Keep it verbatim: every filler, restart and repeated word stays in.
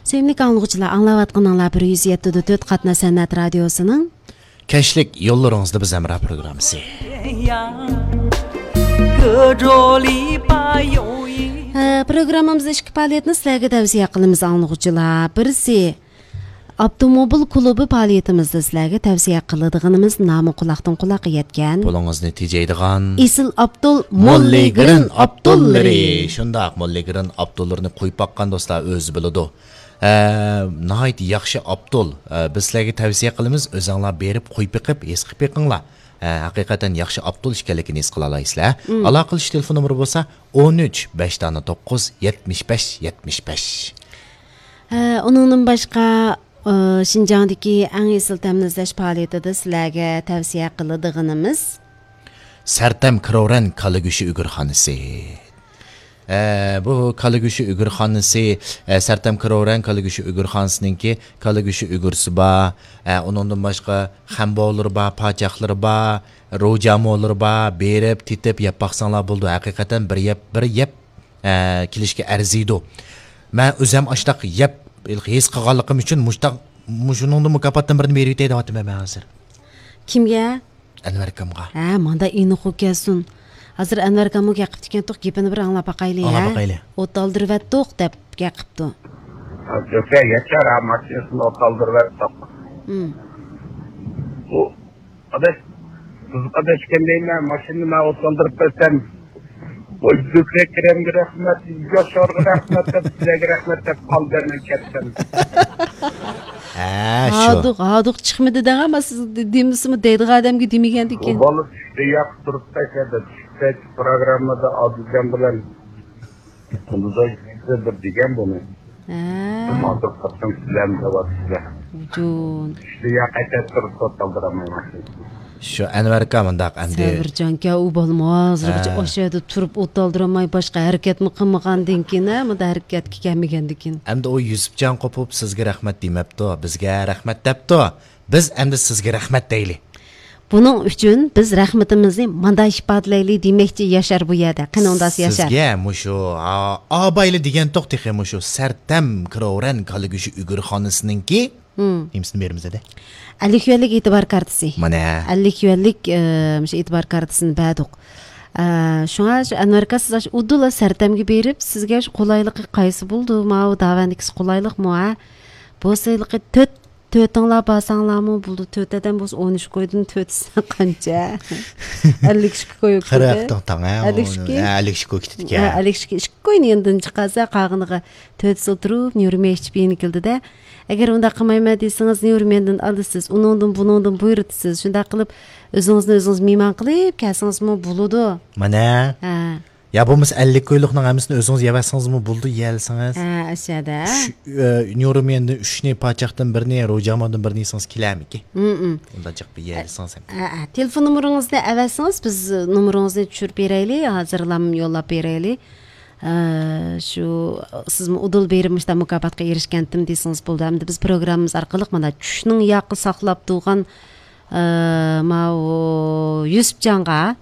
سۆيۈملۈك ئاڭلىغۇچىلار، ئاڭلاۋاتقىنىڭلار بىر يۈز يەتتە دۆت قاتناش سەنئەت رادىيوسىنىڭ كەچلىك يوللىرىڭىزدا بىز ھەمراھ پروگراممىسى. ھە، پروگراممىمىزدا ئىككى پائالىيەتنى سىلەرگە تەۋسىيە قىلىمىز، ئاڭلىغۇچىلار. بىرسى، ئاپتوموبىل كۇلۇبى پائالىيىتىمىزدە سىلەرگە تەۋسىيە قىلىدىغىنىمىز نامى قۇلاقتىن قۇلاققا يەتكەن، پۇلىڭىزنى تېجەيدىغان ئېسىل ئاپتول موللىگرىن ئاپتوللىرى. شۇنداق، موللىگرىن ئاپتوللىرىنى قويۇپ باققان دوستلار ئۆزى بىلىدۇ. ئە، ناھايىتى ياخشى ئاپتول. ئە، بىز سىلەرگە تەۋسىيە قىلىمىز، ئۆزۈڭلار بېرىپ قويۇپ بېقىپ، ھېس قىلىپ بېقىڭلار. ئە، ھەقىقەتەن ياخشى ئاپتول ئىكەنلىكىنى ھېس قىلالايسىلەر. مم. ئالاقىلىشىش تېلېفون نومۇرى بولسا، ئون ئۈچ، بەش دانە توققۇز، يەتمىش بەش، يەتمىش بەش. ئە، ئۇنىڭدىن باشقا، ئە، شىنجاڭدىكى ئەڭ ئېسىل تەمنى ئىزدەش پائالىيىتىدە سىلەرگە تەۋسىيە قىلىدىغىنىمىز سەرتەم كرورەن كالا گۆشى ئۈگرىخانىسى. ئە، بۇ كالا گۆشى ئۈگرىخانىسى، ئە، سەرتەم كرورەن كالا گۆشى ئۈگرىخانىسىنىڭكى كالا گۆشى ئۈگرىسى بار. ئە، ئۇنىڭدىن باشقا خەمبولىرى بار، پاچاقلىرى بار، روجامولىرى بار. بېرىپ، تېتىپ، يەپ باقساڭلار بولىدۇ. ھەقىقەتەن بىر يەپ، بىر يەپ، ئە، كېلىشكە ئەرزىيدۇ. مەن ئۆزۈم ئاشتاق يەپ ھېس قىلغانلىقىم ئۈچۈن مۇشتاق، مۇشۇنىڭدىن مۇكاپاتتىن بىرنى بېرىۋېتەي دەۋاتىمەن مەن ھازىر. كىمگە؟ ئەنۋەر ئاكامغا. ھە، ماندا ئېنىق ئۇ كەلسۇن. ھازىر ئەنۋەر ئاكاممۇ گەپ قىپتىكەنتۇق، گېپىنى بىر ئاڭلاپ باقايلى، ئاڭلاپ ھە؟ باقايلى. ئوت ئالدۇرۇۋەتتۇق دەپ گەپ قىپتۇ. ئاكا، ياشار، ھە، ماشىنىسىنى ئوت ئالدۇرۇۋەتتۇق. ھىم. ئۇ ئاداش، بىز ئاداش ئىكەن دەيمەن، ماشىنىنى مەن ئوت ئالدۇرۇپ بەرسەم، ۋاي، زۆھرە كېرەمگە رەھمەت، ياشارغا رەھمەت دەپ، سىلەرگە رەھمەت دەپ قالدى، مەن كەتتىم. ھە، شۇ. ھادۇق، ھادۇق چىقمىدى دەڭ، ئەمما سىز دې-، دېمىسىمۇ دەيدىغان ئادەمگە دېمىگەندىكىن. ئۇ بالا چۈشتە ياق تۇرۇپتا، شەدە چۈشتە پروگراممىدا ئادىلجان بىلەن قۇلىداش بىر دېگەن بۇنى. ھە. ھازىر قاچان سىلەرنى دەۋاتىسىلەر. جون. چۈشتە ياق ئەتە تۇرۇپ سوت ئالدۇرالمايمەن. شۇ ئەنۋەر ئاكا مۇنداق ئەمدى. سەۋرجانكەن، ئۇ بالىمۇ ھازىرغىچە ھە. ئاشۇ يەردە تۇرۇپ ئوت ئالدۇرالماي باشقا ھەرىكەتمۇ قىلمىغاندىن كېيىن، ھە، مۇنداق ھەرىكەتكە كەلمىگەندىن كېيىن. ئەمدى ئۇ يۈسۈپجان قوپۇپ سىزگە رەھمەت دېمەپتۇ، بىزگە رەھمەت دەپتۇ. بىز ئەمدى سىزگە رەھمەت دەيلى. بۇنىڭ ئۈچۈن بىز رەھمىتىمىزنى ماندا ئىپادىلەيلى دېمەكچى ياشار بۇ يەردە. قېنى ئۇنداق ياشار. سىزگە مۇشۇ، ئا-، ئابايلى دېگەنتۇق تېخى مۇشۇ سەرتەم كرورەن كالا گۆشى ئۈگرىخانىسىنىڭكى ھىم. نېمىسىنى بېرىمىز ئەدە؟ ئەللىك يۈەنلىك ئېتىبار كارتىسى. مانا. ئەللىك يۈەنلىك، ئە، مۇشۇ ئېتىبار كارتىسىنى بەردۇق. ئە، شۇڭا شۇ ئەنۋەر ئاكا، سىز ئاشۇ ئۇدۇللا سەرتەمگە بېرىپ، سىزگە شۇ قولايلىقى قايسى بولىدۇ؟ ماۋۇ داۋەندىكىسى قولايلىقمۇ، ھە؟ بولسا ھېلىقى تۆت، تۆتىڭلار بارساڭلارمۇ بولىدۇ. تۆت ئادەم بولسا ئون ئۈچ كويدىن تۆتىسى قانچە؟ ئەللىك ئىككى كوي. قىرىق تاڭ، ھە، ئەللىك ئىككى؟ ھە، ئەللىك ئىككى كوي كېتىدىكەن. ھە، ئەللىك ئىككى، ئىككى كوينى يېنىدىن چىقارسا، قالغىنىغا تۆتىسى ئولتۇرۇپ، نيۇرمېي ئىچىپ يېنى كېلىدۇ-دە. ئەگەر ئۇنداق قىلمايمەن دېسىڭىز، نيۇرمېندىن ئالىسىز، ئۇنىڭدىن، بۇنىڭدىن بۇيرۇتىسىز. شۇنداق قىلىپ، ئۆزىڭىزنى ئۆزىڭىز مېھمان قىلىپ كەلسىڭىزمۇ بولىدۇ. مانا. ھە. يا بولمىسا ئەللىك كويلۇقنىڭ ھەممىسىنى ئۆزىڭىز يەۋەرسىڭىزمۇ بولىدۇ، يېيەلىسىڭىز. ھە، ئاشۇ يەردە. ئۈچ، ئە، نيۇرمېندىن ئۈچنى، پاچاقتىن بىرنى، روجامادىن بىرنى يېسىڭىز كېلەرمىكىن؟ ھىم، ھىم. ئۇنداق جىق بىر يېيەلىسىڭىز ھەم. ھە، ھە. تېلېفون نومۇرىڭىزنى ئەۋەتسىڭىز، بىز نومۇرىڭىزنى چۈشۈرۈپ بېرەيلى، ھازىرلام يوللاپ بېرەيلى. ئە، شۇ، سىزمۇ ئۇدۇل بېرىپ مۇشۇنداق مۇكاپاتقا ئېرىشكەنتىم دېسىڭىز بولىدۇ. ئەمدى بىز پروگراممىمىز ئارقىلىق مانا چۈشنىڭ ياقى ساقلاپ تۇرغان، ئە، ماۋۇ يۈسۈپجانغا